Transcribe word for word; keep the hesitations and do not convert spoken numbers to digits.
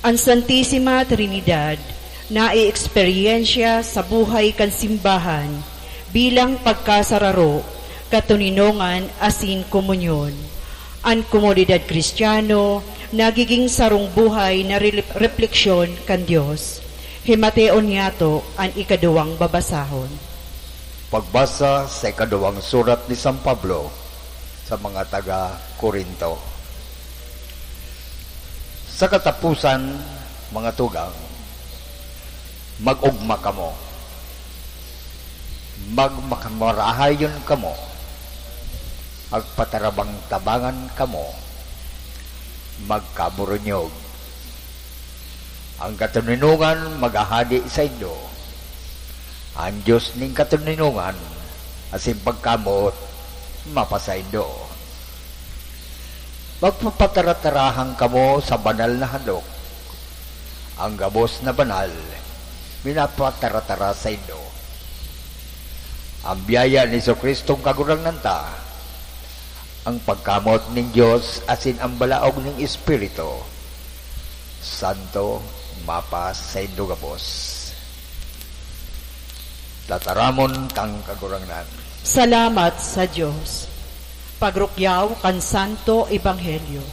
An Santisima Trinidad nai-eksperyensya sa buhay kan simbahan bilang pagkasararo, katoninongan asin komunyon. An komunidad Kristiyano nagiging sarong buhay na rele-, repleksyon kan Dios. Himateon niyato an ikaduwang babasahon. Pagbasa sa ikaduwang surat ni San Pablo sa mga taga Corinto. Sa katapusan, mga tugang, mag-ugma kamo. Magmakamarahayon kamo. Magpatarabang-tabangan kamo. Magkaburunyog. Ang katoninongan maghahade saindo. An Dios nin katoninongan asin pagkamoot mapasaindo. Magpapataratarahan kamo sa banal na handok. Ang gabos na banal minapataratara saindo. Ang biyaya ni Jesu-Cristong Kagurangnan ta, ang pagkamoot nin Dios asin ang balaog nin Espiritu Santo mapasaindo gabos. Tataramon tang Kagurangnan. Salamat sa Dios. Pagrukyaw kan Santo Ebanghelyo.